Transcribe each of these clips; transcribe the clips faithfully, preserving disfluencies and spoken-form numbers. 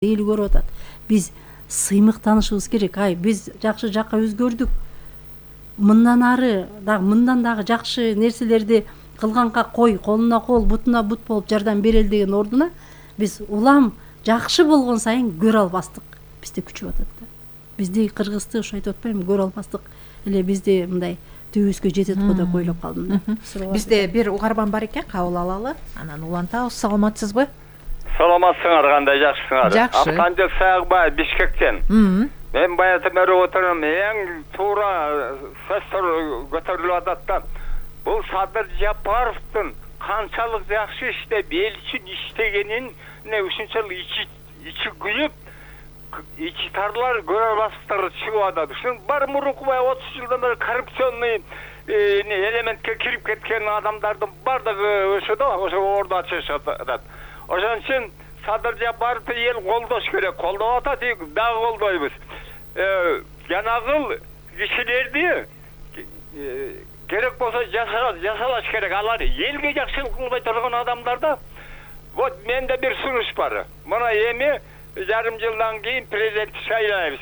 эл көрүп атат. Биз сыймыктанышыбыз керек. Ай, биз жакшы жакка өзгөрдүк. Мындан ары дагы мындан дагы жакшы нерселерди кылганга кой, колуна кол, бутуна бут болуп жардам берели деген ордуна биз улам жакшы болгон сайын көрө албастык бизде күчүп атат да. Бизди Кыргызды ошо айтып атпаймынбы, көрө албастык эле бизди мындай түбүбүзгө жетет го деп ойлоп калдым да. Бизде бир угарман бар экен, кабыл алалы. Анан улантабыз. Саламатсызбы? Саламатсыңар, кандай жакшысыңар? Жакшы. Апкандык Сагыбаев, Бишкектен. Мен баягы бери отурам, эң туура сөздөр көтөрүлүп атат да. Бул Садыр Жапаровдун канчалык жакшы иштеп, эл үчүн иштегенин ушунчалык ичи ичи күйүп, ичи тарлар көрө албастыктар чыгып атат. Ушун бар мурунку баягы отуз жылдан бери коррупционный элементке кирип кеткен адамдардын бардыгы ошо да, ошо ордо ачышып атат. Ошон үчүн Садыр Жапаровду эл колдош керек. Колдоп атат, дагы колдойбуз. Жанагыл кишилерди керек болсо жасалаш керек. Алар элге жакшылык кылбай турган адамдарда. Вот менде бир сунуш бар. Мына эми жарым жылдан кийин президент шайлайбыз.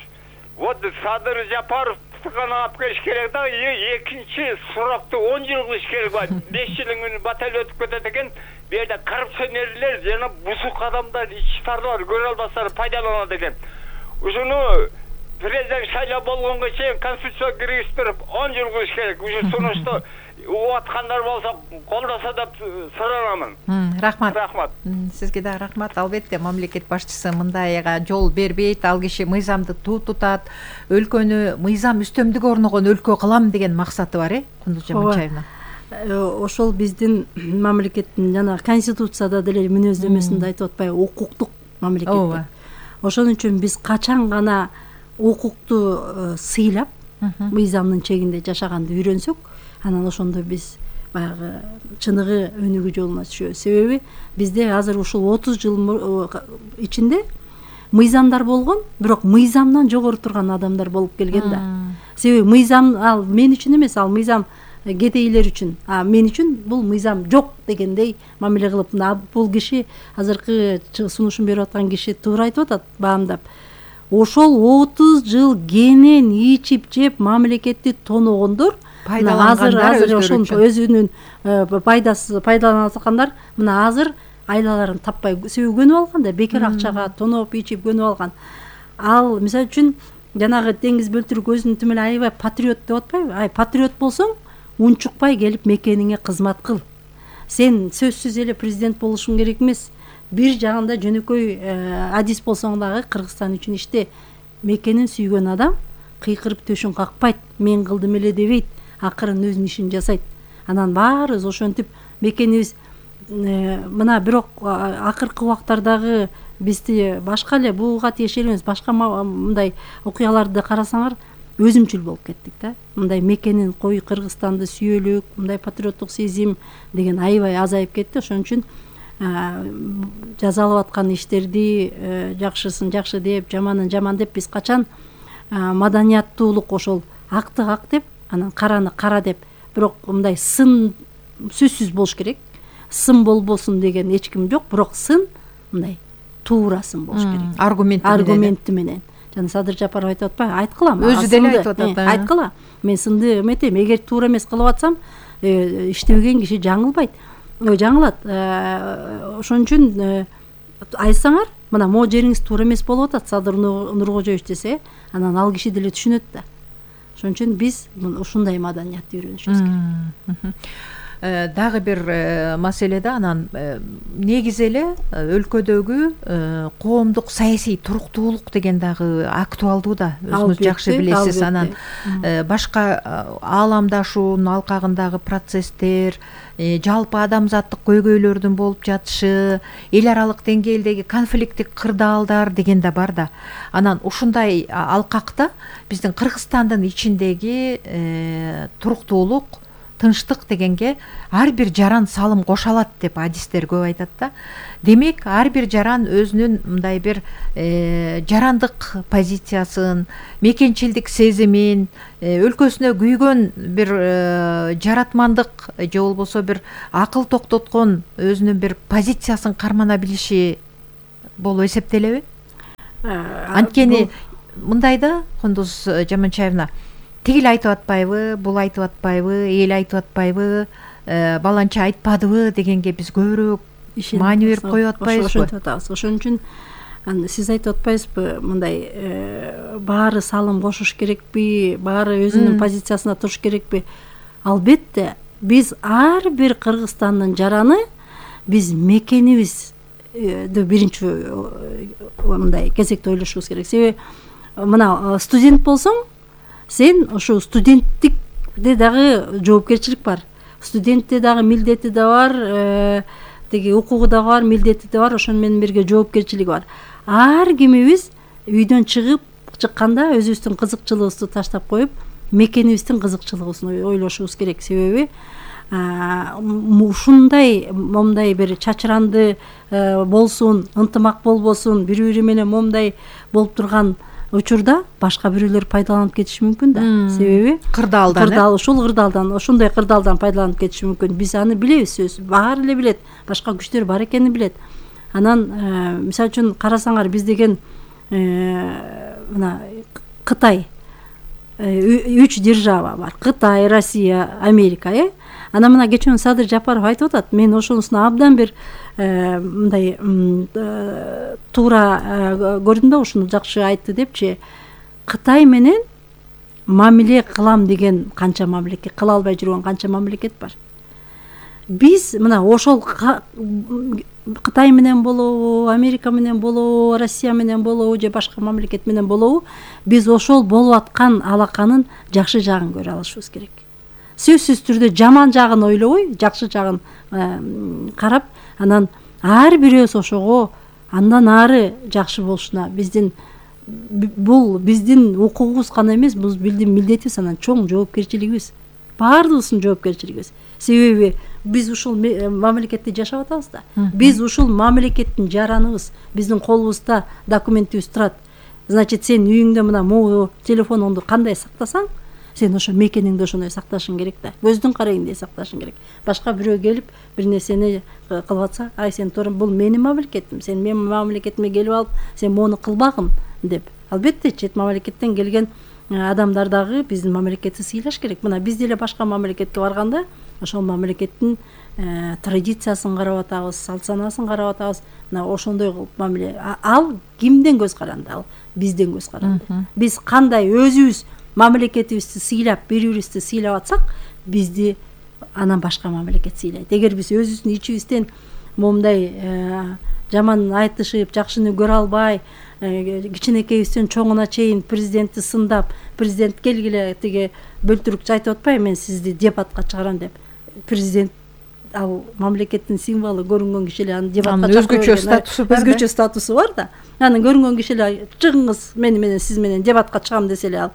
Вот Садыр Жапаров гана алып келиш керек да, экинчи срокту он жыл кылыш керек бар. беш жылың батал өтүп кетет экен. Бу жерде коррупционерлер жана бузук адамдар, ичтарлар көрө албастар пайдаланат экен. Ушуну президент шайлап болгонго чейин конституцияга киргизип он жыл кылыш керек. Ушу сунушту угуп аткандар болсо колдосо деп суранамын. Рахмат. Рахмат. Сизге да рахмат. Албетте мамлекет башчысы мындайга жол бербейт. Ал киши мыйзамды туу тутат. Өлкөнү мыйзам үстөмдүгү орногон өлкө кылам деген максаты бар, э? Кундуз Жаманчаевна. Ошол биздин мамлекеттин жана конституцияда деле мүнөздөмөсүндө айтып атпайбы, укуктук мамлекет деп. Ошон үчүн биз качан гана укукту сыйлап, мыйзамдын чегинде жашаганды үйрөнсөк, анан ошондо биз баягы чыныгы өнүгүү жолуна түшөбүз. Себеби бизде азыр ушул отуз жыл ичинде мыйзамдар болгон, бирок мыйзамдан жогору турган адамдар болуп келген да. Себеби мыйзам ал мен үчүн эмес, ал мыйзам кедейлер үчүн, а мен үчүн бул мыйзам жок дегендей мамиле кылып, бул киши азыркы сунушун берип аткан киши туура айтып атат, баамдап. Ошол отуз жыл кенен ичип жеп мамлекетти тоногондор, пайдалангандар өзүнүн пайдасы пайдалана аткандар мына азыр айлаларын таппай, себеби көнүп алган да, бекер акчага тоноп ичип көнүп алган. Ал мисалы үчүн жанагы Деңиз Бөлтүрк өзүнүн тим эле аябай патриот деп атпайбы? Ай, патриот болсоң, унчукпай келип мекениңе кызмат кыл. Сен сөзсүз эле президент болушуң керек эмес. Бир жагында жөнөкөй адис болсоң дагы Кыргызстан үчүн иште. Мекенин сүйгөн адам кыйкырып төшүн какпайт, мен кылдым эле дебейт, акырын өзүнүн ишин жасайт. Анан баарыбыз ошентип мекенибиз мына бирок акыркы убактардагы бизди башка эле буга тиешелүү эмес, башка мындай окуяларды карасаңар өзүмчүл болуп кеттик да. Мындай мекенин кой Кыргызстанды сүйөлүк, мындай патриоттук сезим деген аябай азайып кетти. Ошон үчүн жазалып аткан иштерди жакшысын жакшы деп, жаманын жаман деп биз качан маданияттуулук ошол акты ак деп, анан караны кара деп, бирок мындай сын сөзсүз болуш керек. Сын болбосун деген эч ким жок, бирок сын мындай туура сын болуш керек. Аргументи менен. Аргументи менен. Жана Садыр Жапаров айтып атпайбы? Айткылам. Өзү деле айтып атат. Айткыла. Мен сынды эметем, эгер туура эмес кылып атсам, иштебеген киши жаңылбайт. Жаңылат. Ошон үчүн айтсаңар, мына могу жериңиз туура эмес болуп атат, Садыр Нуркожоевич десе, анан ал киши деле түшүнөт да. Ошон үчүн биз ушундай маданиятты үйрөнүшүбүз керек. Дагы бир маселе да, анан негизи эле өлкөдөгү коомдук саясий туруктуулук деген дагы актуалдуу да, өзүңүз жакшы билесиз. Анан башка ааламдашуунун алкагындагы процесстер, жалпы адамзаттык көйгөйлөрдүн болуп жатышы, эл аралык деңгээлдеги конфликттик кырдаалдар деген да бар да. Анан ушундай алкакта биздин Кыргызстандын ичиндеги туруктуулук, тынчтык дегенге ар бир жаран салым кошо алат деп адистер көп айтат да. Демек, ар бир жаран өзүнүн мындай бир жарандык позициясын, мекенчилдик сезимин, өлкөсүнө күйгөн бир жаратмандык же болбосо бир акыл токтоткон өзүнүн бир позициясын кармана билиши болуп эсептелеби? анткени мындай да, Кундуз Жаманчаевна, тигил айтып атпайбы, бул айтып атпайбы, эл айтып атпайбы, баланча айтпадыбы дегенге биз көбүрөөк маани берип коюп атпайбызбы? Ошентип атабыз. Ошон үчүн сиз айтып атпайсызбы, мындай баары салым кошуш керекпи, баары өзүнүн позициясына туруш керекпи? Албетте, биз ар бир Кыргызстандын жараны биз мекенибизди биринчи мындай кезекте ойлошубуз керек. Себеби мына студент болсоң, сен ошо студенттикте дагы жоопкерчилик бар. Студентте дагы милдети да бар, тиги укугу да бар, милдети да бар, ошону менен бирге жоопкерчилиги бар. Ар кимибиз үйдөн чыгып чыкканда өзүбүздүн кызыкчылыгыбызды таштап коюп, мекенибиздин кызыкчылыгын ойлошубуз керек. Себеби ушундай момундай бир чачыранды болсун, ынтымак болбосун, бири бири менен момундай болуп турган учурда башка бирөөлөр пайдаланып кетиши мүмкүн да. Себеби кырдаалдан, кырдаал ушул кырдаалдан, ошондой кырдаалдан пайдаланып кетиши мүмкүн. Биз аны билебиз, сөз баары эле билет, башка күчтөр бар экенин билет. Анан мисалы үчүн карасаңар, биз деген мына Кытай үч держава бар. Кытай, Россия, Америка, э? Анан мына кечээ Садыр Жапаров айтып атат, мен ошонусуна абдан бир мындай туура көрдүм да, ушуну жакшы айтты депчи. Кытай менен мамиле кылам деген канча мамлекет, кыла албай жүргөн канча мамлекет бар. Биз мына ошол Кытай менен болобу, Америка менен болобу, Россия менен болобу же башка мамлекет менен болобу, биз ошол болуп аткан алаканын жакшы жагын көрө алышыбыз керек. Сөзсүз түрдө жаман жагын ойлобой, жакшы жагын карап, анан ар бирөөбүз ошого андан ары жакшы болушуна, биздин бул биздин укугубуз гана эмес, бул биздин милдетибиз, анан чоң жоопкерчилигибиз, баардыгыбыздын жоопкерчилигибиз. Себеби биз ушул мамлекетте жашап атабыз да. Биз ушул мамлекеттин жараныбыз, биздин колубузда документибиз турат. Значит, сен үйүңдө мына могу телефонуңду кандай сактасаң, сен ошо мекениңди ошондой сакташың керек да. Көздүн карайындай сакташың керек. Башка бирөө келип бир нерсени кылып атса, ай сен туура бул менин мамлекетим, сен менин мамлекетиме келип алып, сен мону кылбагын деп. Албетте, чет мамлекеттен келген адамдар дагы биздин мамлекетти сыйлаш керек. Мына биз деле башка мамлекетке барганда ошол мамлекеттин традициясын карап атабыз, салт санаасын карап атабыз. Мына ошондой кылып мамиле. Ал кимден көз каранды? Ал бизден көз каранды. Биз кандай өзүбүз мамлекетибизди сыйлап, бири-бирибизди сыйлап атсак, бизди анан башка мамлекет сыйлайт. Эгер биз өзүбүздүн ичибизден момундай жаман айтышып, жакшыны көрө албай, кичинекейибизден чоңуна чейин президентти сындап, президент келгиле тиги бөлтүрүкчү айтып атпайбы, мен сизди дебатка чыгарам деп. Президент ал мамлекеттин символу, көрүнгөн киши эле аны дебатка чыгарып, өзгөчө статусу бар, өзгөчө статусу бар да. Анан көрүнгөн киши эле чыгыңыз, мени менен сиз менен дебатка чыгам десе эле, ал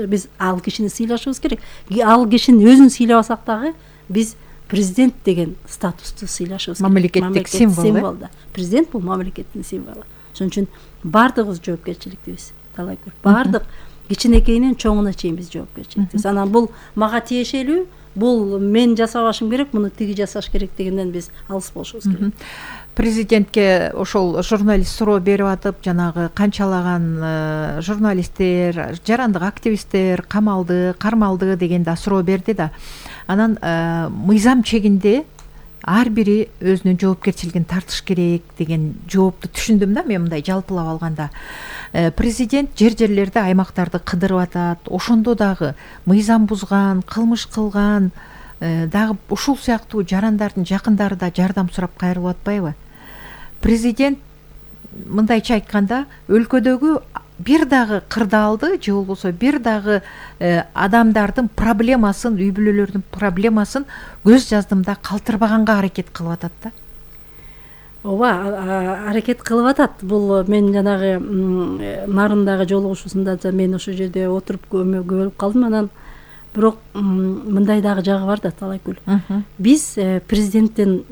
биз ал кишини сыйлашыбыз керек. Ал кишини өзүн сыйлабасак дагы биз президент деген статусту сыйлашыбыз керек. Мамлекеттик символ да. Президент бул мамлекеттин символу. Ошон үчүн баардыгыбыз жоопкерчиликтибиз. Талай көп. Баардык кичинекейинен чоңуна чейин биз жоопкерчиликтибиз. Анан бул мага тиешелүү, бул мен жасабашым керек, муну тиги жасаш керек дегенден биз алыс болушубуз керек. Президентке ошол журналист суроо берип атып, жанагы канчалаган журналисттер, жарандык активисттер камалды, кармалды деген да суроо берди да. Анан мыйзам чегинде ар бири өзүнүн жоопкерчилигин тартыш керек деген жоопту түшүндүм да мен мындай жалпылап алганда. Президент жер жерлерде аймактарды кыдырып атат, ошондо дагы мыйзам бузган, кылмыш кылган дагы ушул сыяктуу жарандардын жакындары да жардам сурап кайрылып атпайбы? Президент мындайча айтканда, өлкөдөгү бир дагы кырдаалды же болбосо бир дагы адамдардын проблемасын, үй бүлөлөрдүн проблемасын көз жаздымда калтырбаганга аракет кылып атат да. Ооба, аракет кылып атат. Бул мен жанагы Нарындагы жолугушуусунда мен ошол жерде отуруп көбөлүп калдым. Анан бирок мындай дагы жагы бар да, Талайкүл. Биз президенттен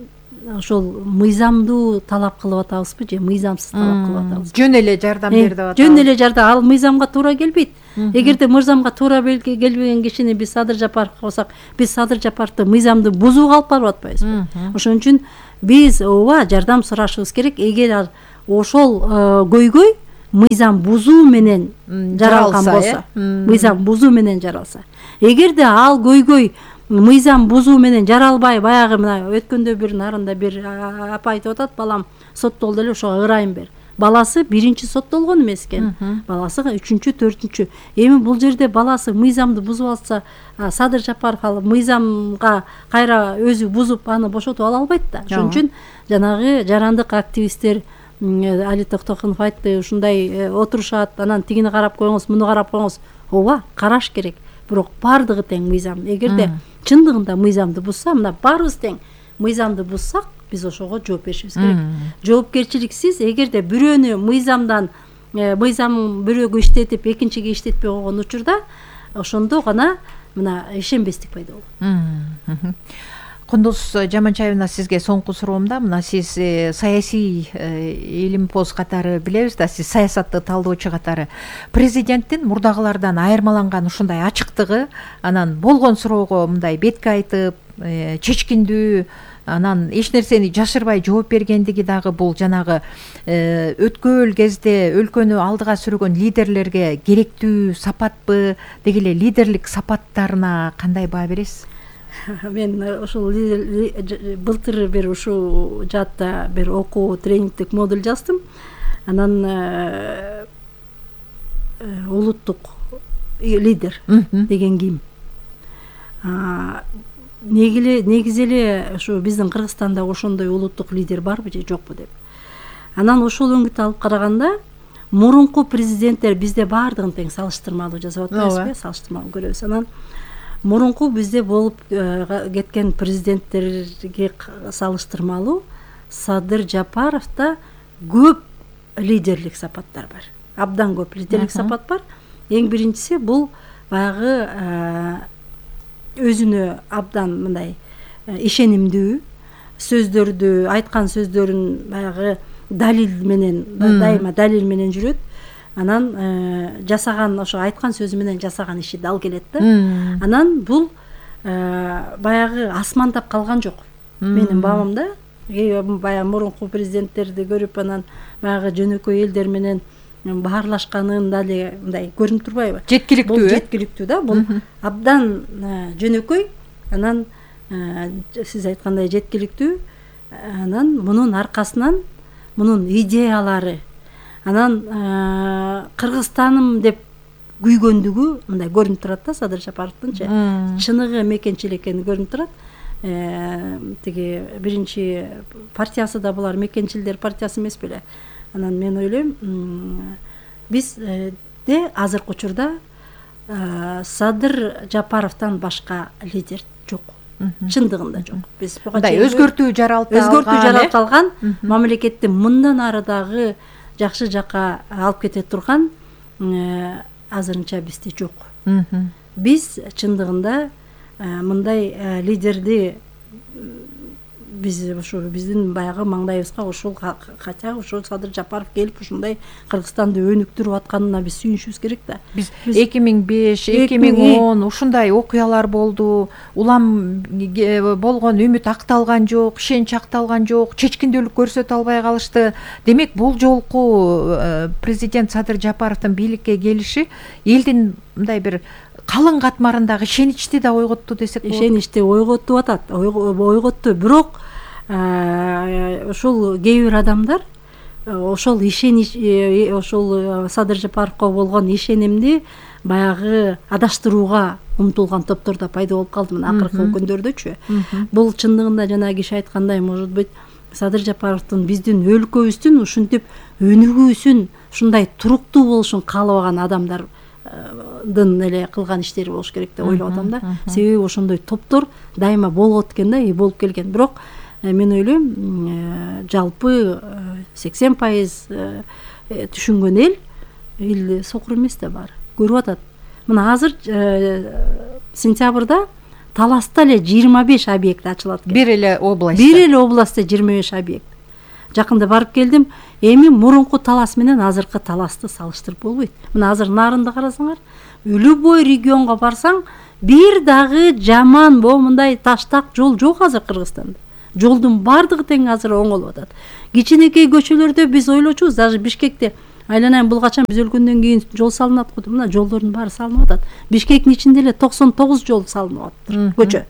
ошол мыйзамдуу талап кылып атабызбы же мыйзамсыз талап кылып атабызбы? Жөн эле жардам берди деп атабыз. Жөн эле жардам, ал мыйзамга туура келбейт. Эгерде мыйзамга туура келбеген кишини биз Садыр Жапаровго койсок, биз Садыр Жапаровду мыйзамды бузууга алып барып атпайбызбы? Ошон үчүн биз ооба жардам сурашыбыз керек. Эгер ошол көйгөй мыйзам бузуу менен жаралган болсо, мыйзам бузуу менен жаралса, эгерде ал көйгөй мыйзам бузуу менен жаралбай, баягы мына өткөндө бир нарында бир апа айтып атат, балам соттолду эле, ошого ырайым бер. Баласы биринчи соттолгон эмес экен, баласы үчүнчү, төртүнчү. Эми бул жерде баласы мыйзамды бузуп алса, Садыр Жапаров ал мыйзамга кайра өзү бузуп аны бошотуп ала албайт да. Ошон үчүн жанагы жарандык активисттер, Али Токтокунов айтты, ушундай отурушат, анан тигини карап коюңуз, муну карап коюңуз. Ооба, караш керек. Бирок бардыгы тең мыйзам. Эгерде чындыгында мыйзамды бузса, мына баарыбыз тең мыйзамды бузсак, биз ошого жооп беришибиз керек. Жоопкерчиликсиз, эгерде бирөөнү мыйзамдан мыйзам бирөөгө иштетип, экинчиге иштетпей койгон учурда, ошондо гана мына ишенбестик пайда болот. Кундуз Жаманчаевна, сизге соңку суроом да, мына сиз саясий илимпоз катары билебиз да, сиз саясатты талдоочу катары президенттин мурдагылардан айырмаланган ушундай ачыктыгы, анан болгон суроого мындай бетке айтып, чечкиндүү, анан эч нерсени жашырбай жооп бергендиги дагы бул жанагы өткөн кезде өлкөнү алдыга сүргөн лидерлерге керектүү сапатпы, деги эле лидерлик сапаттарына кандай баа бересиз? Мен ушул былтыр бир ушул жаатта бир окуу тренингдик модуль жаздым. Анан улуттук лидер деген ким? Негизи эле ушу биздин Кыргызстанда ошондой улуттук лидер барбы же жокпу деп. Анан ошол өңүттү алып караганда, мурунку президенттер бизде баардыгын тең салыштырмалуу жасап атпайбызбы, салыштырмалуу көрөбүз. Анан мурунку бизде болуп кеткен президенттерге салыштырмалуу Садыр Жапаровда көп лидерлик сапаттар бар. Абдан көп лидерлик сапат бар. Эң биринчиси бул баягы өзүнө абдан мындай ишенимдүү сөздөрдү, айткан сөздөрүн баягы далил менен, дайыма далил менен жүрөт. Анан жасаган, ошо айткан сөзү менен жасаган иши дал келет да. Анан бул баягы асмандап калган жок. Менин баамда баягы мурунку президенттерди көрүп, анан баягы жөнөкөй элдер менен баарлашканын дали мындай көрүнүп турбайбы? Жеткиликтүү. Бул жеткиликтүү да, бул абдан жөнөкөй, анан сиз айткандай жеткиликтүү. Анан мунун аркасынан мунун идеялары, анан Кыргызстаным деп күйгөндүгү мындай көрүнүп турат да, Садыр Жапаровдунчу. Чыныгы мекенчил экени көрүнүп турат. Тиги биринчи партиясы да булар мекенчилдер партиясы эмес беле. Анан мен ойлойм, бизде азыркы учурда Садыр Жапаровдон башка лидер жок. Чындыгында жок. Биз мындай өзгөртүү жаралта өзгөртүү жаралта алган, мамлекетти мындан ары дагы жакшы жакка алып кете турган азырынча бизде жок. Биз чындыгында мындай лидерди биз ошо биздин баягы маңдайыбызга ушул, хотя ошол Садыр Жапаров келип ушундай Кыргызстанды өнүктүрүп атканына биз сүйүнүшүбүз керек да. Биз эки миң беш, эки миң он ушундай окуялар болду. Улам болгон үмүт акталган жок, ишенич акталган жок, чечкиндүүлүк көрсөтө албай калышты. Демек, бул жолку президент Садыр Жапаровдун бийликке келиши элдин мындай бир калың катмарындагы ишеничти да ойготту десек болот. Ишеничти ойготтуп атат, ойготту. Бирок ошол кээ бир адамдар ошол ишенич, ошол Садыр Жапаровго болгон ишенимди баягы адаштырууга умтулган топтор да пайда болуп калды мына акыркы күндөрдөчү. Бул чындыгында жанагы киши айткандай, может быть, Садыр Жапаровдун биздин өлкөбүздүн ушинтип өнүгүүсүн, ушундай туруктуу болушун каалабаган адамдар дын эле кылган иштери болуш керек деп ойлоп атам да. Себеби ошондой топтор дайыма болот экен да, и болуп келген. Бирок мен ойлойм, жалпы сексен пайыз түшүнгөн эл эл сокур эмес да баары. Көрүп атат. Мына азыр сентябрда Таласта эле жыйырма беш объект ачылат экен. Бир эле областта. Бир эле областта жыйырма беш объект. Жакында барып келдим. Эми мурунку Талас менен азыркы Таласты салыштырып болбойт. Мына азыр Нарынды карасаңар, любой регионго барсаң, бир дагы жаман момундай таштак жол жок азыр Кыргызстанда. Жолдун бардыгы тең азыр оңолуп атат. Кичинекей көчөлөрдө биз ойлочубуз, даже Бишкекте айланайын бул качан биз өлгөндөн кийин жол салынат го деп, мына жолдордун баары салынып атат. Бишкектин ичинде эле токсон тогуз жол салынып атыптыр, көчө.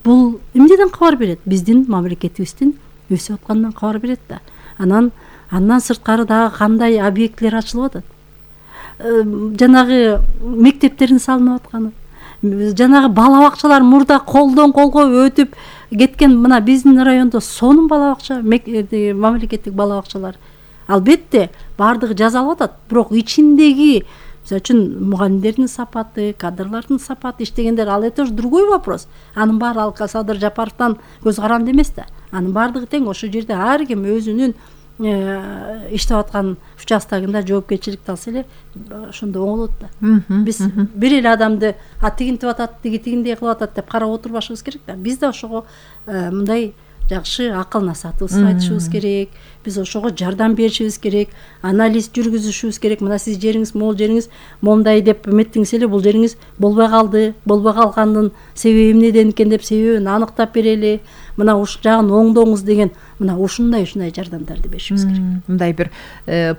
Бул эмнеден кабар берет? Биздин мамлекетибиздин өсүп атканынан кабар берет да. Анан андан сырткары дагы кандай объектилер ачылып атат. Жанагы мектептердин салынып атканы, жанагы бала бакчалар мурда колдон колго өтүп кеткен, мына биздин райондо сонун бала бакча, мамлекеттик бала бакчалар. Албетте баардыгы жасалып атат, бирок ичиндеги, мисалы үчүн мугалимдердин сапаты, кадрлардын сапаты, иштегендер, ал это уже другой вопрос. Анын баары ал Садыр Жапаровдон көз каранды эмес да. Анын баардыгы тең ошол жерде ар ким өзүнүн иштеп аткан участогунда жоопкерчиликти алса эле ошондо оңолот да. Биз бир эле адамды а тигинтип атат, тиги тигиндей кылып атат деп карап отурбашыбыз керек да. Биз да ошого мындай жакшы акыл насаатыбызды айтышыбыз керек. Биз ошого жардам беришибиз керек, анализ жүргүзүшүбүз керек. Мына сиз жериңиз могул жериңиз момундай деп эметтиңиз эле, бул жериңиз болбой калды, болбой калгандын себеби эмнеден экен деп себебин аныктап берели. Мына ушул жагын оңдоңуз деген, мына ушундай ушундай жардамдарды беришибиз керек. Мындай бир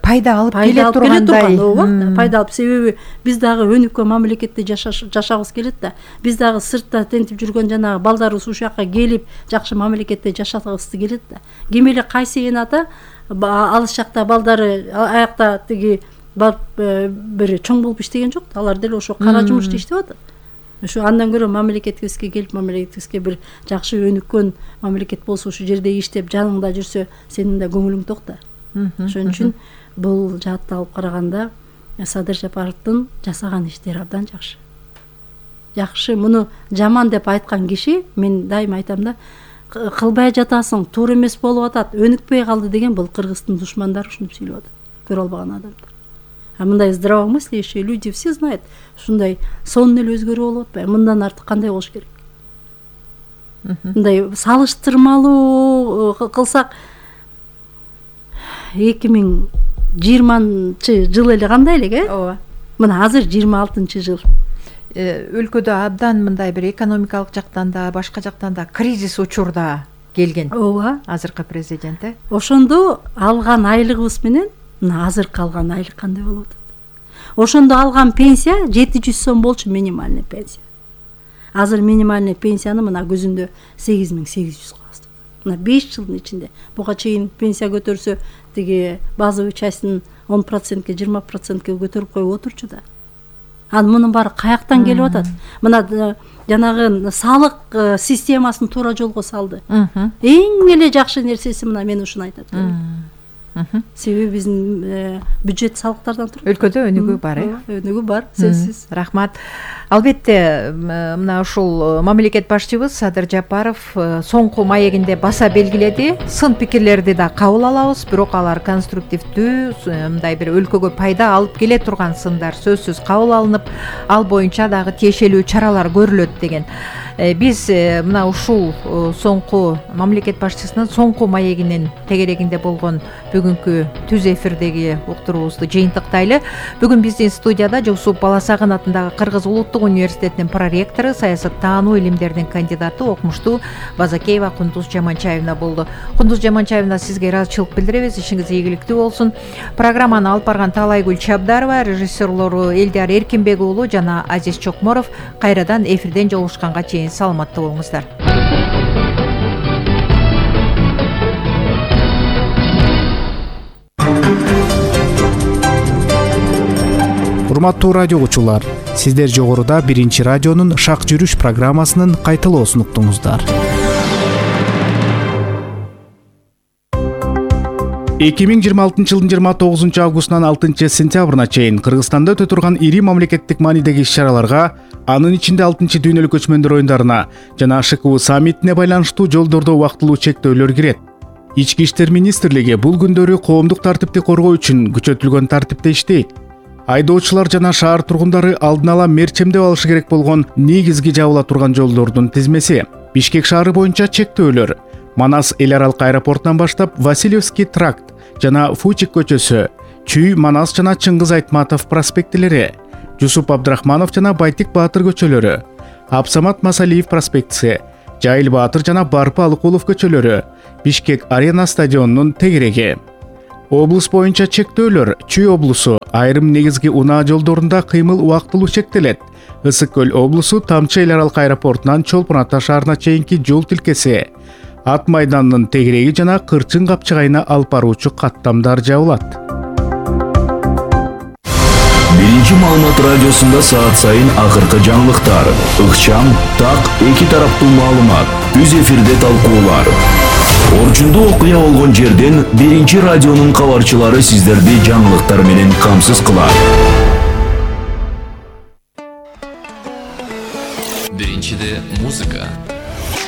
пайда алып келе тургандай. Пайда алып, себеби биз дагы өнүккөн мамлекетте жашагыбыз келет да. Биз дагы сыртта тентип жүргөн жанагы балдарыбыз ушул жакка келип жакшы мамлекетте жашагыбыз келет да. Ким эле кайсы эн ата алыс жакта балдары аякта тиги бир чоң болуп иштеген жок да. Алар деле ошо кара жумушта иштеп атат. Ошо андан көрө мамлекетибизге келип, мамлекетибизге бир жакшы өнүккөн мамлекет болсо, ушул жерде иштеп жаныңда жүрсө, сенин да көңүлүң ток да. Ошон үчүн бул жаатты алып караганда Садыр Жапаровдун жасаган иштери абдан жакшы. Жакшы, муну жаман деп айткан киши, мен дайыма айтам да, кылбай жатасың, туура эмес болуп атат, өнүкпөй калды деген бул кыргыздын душмандары ушинтип сүйлөп атат. Көрө албаган адамдар. А мындай здравомыслящие люди все знают, ушундай сонун эле өзгөрүү болуп атпайбы? Мындан артык кандай болуш керек? Мындай салыштырмалуу кылсак, эки миң жыйырманчы жыл эле кандай элек, э? Ооба. Мына азыр жыйырма алтынчы жыл. Өлкөдө абдан мындай бир экономикалык жактан да, башка жактан да кризис учурда келген. Ооба. Азыркы президент, э? Ошондо алган айлыгыбыз менен мына азыркы алган айлык кандай болуп атат? Ошондо алган пенсия жети жүз сом болчу, минимальный пенсия. Азыр минимальный пенсияны мына көзүндө сегиз миң сегиз жүз калат. Мына беш жылдын ичинде буга чейин пенсия көтөрсө, тиги базовый частьтын он процентке, жыйырма процентке көтөрүп коюп отурчу да. Анан мунун баары каяктан келип атат? Мына жанагы салык системасын туура жолго салды. Эң эле жакшы нерсеси мына мен ушуну айтат. Себеби биздин бюджет салыктардан турат. Өлкөдө өнүгүү бар, э? Өнүгүү бар, сөзсүз. Рахмат. Албетте, мына ушул мамлекет башчыбыз Садыр Жапаров соңку маегинде баса белгиледи. Сын пикирлерди да кабыл алабыз, бирок алар конструктивдүү, мындай бир өлкөгө пайда алып келе турган сындар сөзсүз кабыл алынып, ал боюнча дагы тиешелүү чаралар көрүлөт деген. Биз мына ушул соңку мамлекет башчысынын соңку маегинин тегерегинде болгон бүгүнкү түз эфирдеги уктуруубузду жыйынтыктайлы. Бүгүн биздин студияда Жусуп Баласагын атындагы Кыргыз улуттук университетинин проректору, саясаттануу илимдеринин кандидаты, окумуштуу Базакеева Кундуз Жаманчаевна болду. Кундуз Жаманчаевна, сизге ыраазычылык билдиребиз. Ишиңиз ийгиликтүү болсун. Программаны алып барган Таалайгүл Чабдарова, режиссерлору Элдияр Эркинбек уулу жана Азиз Чокморов. Кайрадан эфирден жолугушканга чейин саламатта болуңуздар. Урматтуу радио угуучулар, сиздер жогоруда биринчи радионун Шак жүрүш программасынын кайталоосун уктуңуздар. эки миң жыйырма алтынчы жылдын жыйырма тогузунчу августунан алтынчы сентябрына чейин Кыргызстанда өтө турган ири мамлекеттик маанидеги иш-чараларга, анын ичинде алтынчы дүйнөлүк көчмөндөр оюндарына жана ШКУ саммитине байланыштуу жолдордо убактылуу чектөөлөр кирет. Ички иштер министрлиги бул күндөрү коомдук тартипти коргоо үчүн күчөтүлгөн тартипте иштейт. Айдоочулар жана шаар тургундары алдын ала мерчемдеп алышы керек болгон негизги жабыла турган жолдордун тизмеси. Бишкек шаары боюнча чектөөлөр Манас эл аралык аэропортунан баштап Васильевский тракт жана Фучик көчөсү, Чүй, Манас жана Чыңгыз Айтматов проспектилери, Жусуп Абдрахманов жана Байтик Баатыр көчөлөрү, Абсамат Масалиев проспектиси, Жайыл Баатыр жана Барпы Алыкулов көчөлөрү, Бишкек арена стадионунун тегереги. Облус боюнча чектөөлөр. Чүй облусу айрым негизги унаа жолдорунда кыймыл убактылуу чектелет. Ысык көл облусу Тамчы эл аралык аэропортунан Чолпон Ата шаарына чейинки жол тилкеси. Ат майданынын тегереги жана Кырчын капчыгайына алып баруучу каттамдар жабылат. Биринчи маалымат радиосунда саат сайын акыркы жаңылыктар, ыкчам, так, эки тараптуу маалымат, үз эфирде талкуулар. Орчундуу окуя болгон жерден биринчи радионун кабарчылары сиздерди жаңылыктар менен камсыз кылат. Биринчиде музыка,